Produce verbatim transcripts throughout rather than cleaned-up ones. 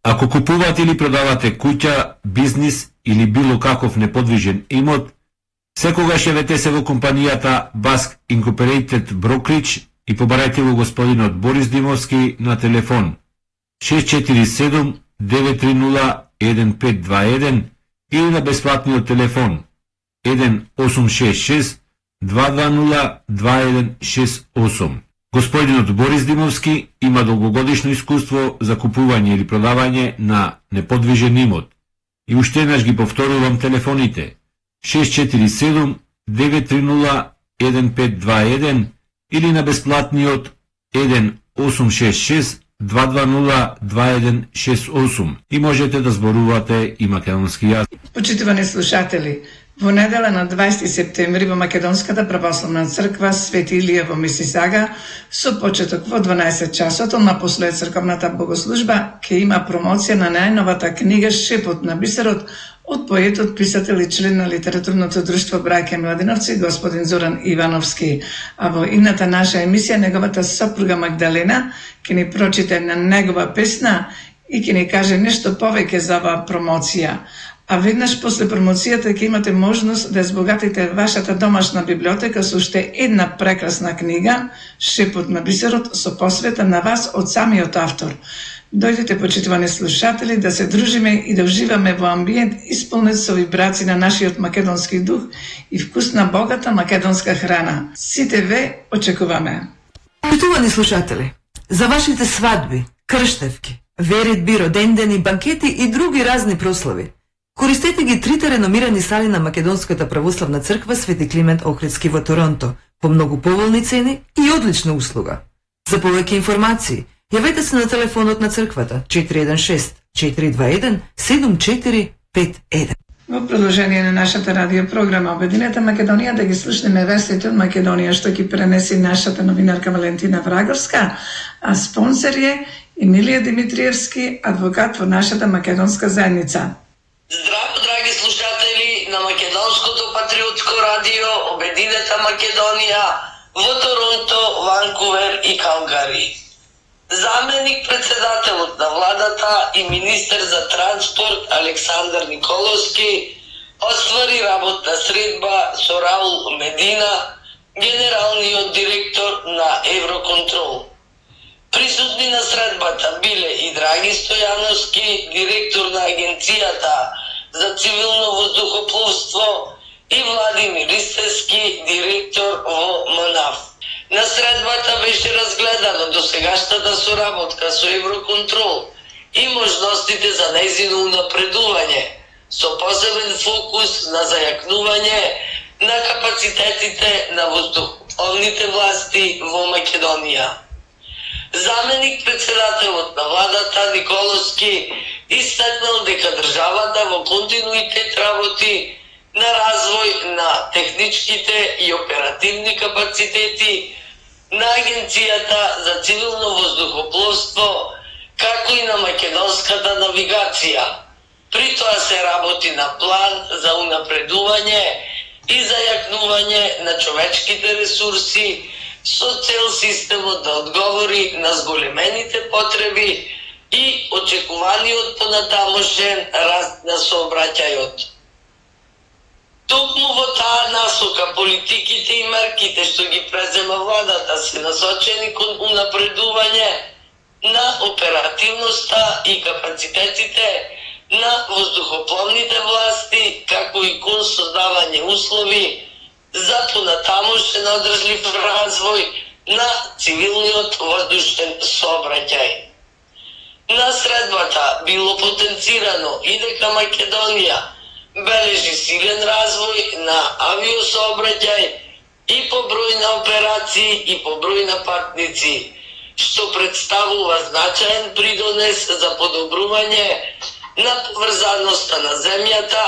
Ако купувате или продавате куќа, бизнис или било каков неподвижен имот, секогаш јавете се во компанијата Баск Incorporated Brokerage и побарајте го господинот Борис Димовски на телефон шест четири седум девет три нула еден пет два еден или на бесплатниот телефон еден осум шест шест два два нула два еден шест осум. Господинот Борис Димовски има долгогодишно искуство за купување или продавање на неподвижен имот. И уште еднаш ги повторувам телефоните шест четири седум девет три нула еден пет два еден или на бесплатниот еден осум шест шест два два нула два еден шест осум и можете да зборувате и македонски јазик. Почитувани слушатели, во недела на дваесети септември во Македонската православна црква Свети Илија во Мисисага со почеток во дванаесет часот напослед црковната богослужба ќе има промоција на најновата книга Шепот на бисерот од поетот, писател и член на литературното друштво Браќа Младеновци господин Зоран Ивановски. А во идната наша емисија неговата сопруга Магдалена ќе ни прочита на негова песна и ќе ни каже нешто повеќе за оваа промоција. А веднаш после промоцијата ќе имате можност да збогатите вашата домашна библиотека со уште една прекрасна книга Шепот на бисерот со посвета на вас од самиот автор. Дојдете, почитувани слушатели, да се дружиме и да уживаме во амбиент исполнет со вибрации на нашиот македонски дух и вкусна богата македонска храна. Сите ве очекуваме. Почитувани слушатели, за вашите свадби, крштевки, веридби, родендени, банкети и други разни прослави, користете ги трите реномирани сали на Македонската православна црква Свети Климент Охридски во Торонто по многу поволни цени и одлична услуга. За повеќе информации, јавете се на телефонот на црквата четири еден шест четири два еден седум четири пет еден. Во продолжение на нашата радиопрограма Обединета Македонија да ги слушнеме вестите од Македонија што ги пренеси нашата новинарка Валентина Враговска, а спонсор е Емилија Димитриевски, адвокат во нашата македонска заедница. Здраво, драги слушатели на Македонското патриотско радио Обединета Македонија во Торонто, Ванкувер и Калгари. Заменик председателот на владата и министер за транспорт Александар Николовски оствари работна средба со Раул Медина, генералниот директор на Евроконтрол. Присутни на средбата биле и Драги Стојановски, директор на Агенцијата за цивилно воздухопловство, и Владимир Истевски, директор во МНАФ. На средбата беше разгледана досегашната соработка со Евроконтрол и можностите за нејзино унапредување, со посебен фокус на зајакнување на капацитетите на воздухопловните власти во Македонија. Заменик председателот на владата Николовски истакнал дека државата во континуитет работи на развој на техничките и оперативни капацитети на Агенцијата за цивилно воздухопловство, како и на македонската навигација. При тоа се работи на план за унапредување и зајакнување на човечките ресурси со цел системот да одговори на зголемените потреби и очекуваниот понатамошен раст на сообраќајот. Токму во таа насока политиките и мерките што ги презема владата се насочени кон унапредување на оперативноста и капацитетите на воздухопловните власти, како и кон создавање услови за понатамошен одржлив развој на цивилниот воздушен сообраќај. На средбата било потенцирано и дека Македонија бележи силен развој на авиосообраќај и по број на операции и по број на патници, што представува значаен придонес за подобрување на поврзаноста на земјата,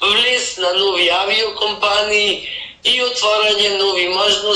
влез на нови авиокомпании и отворање нови можности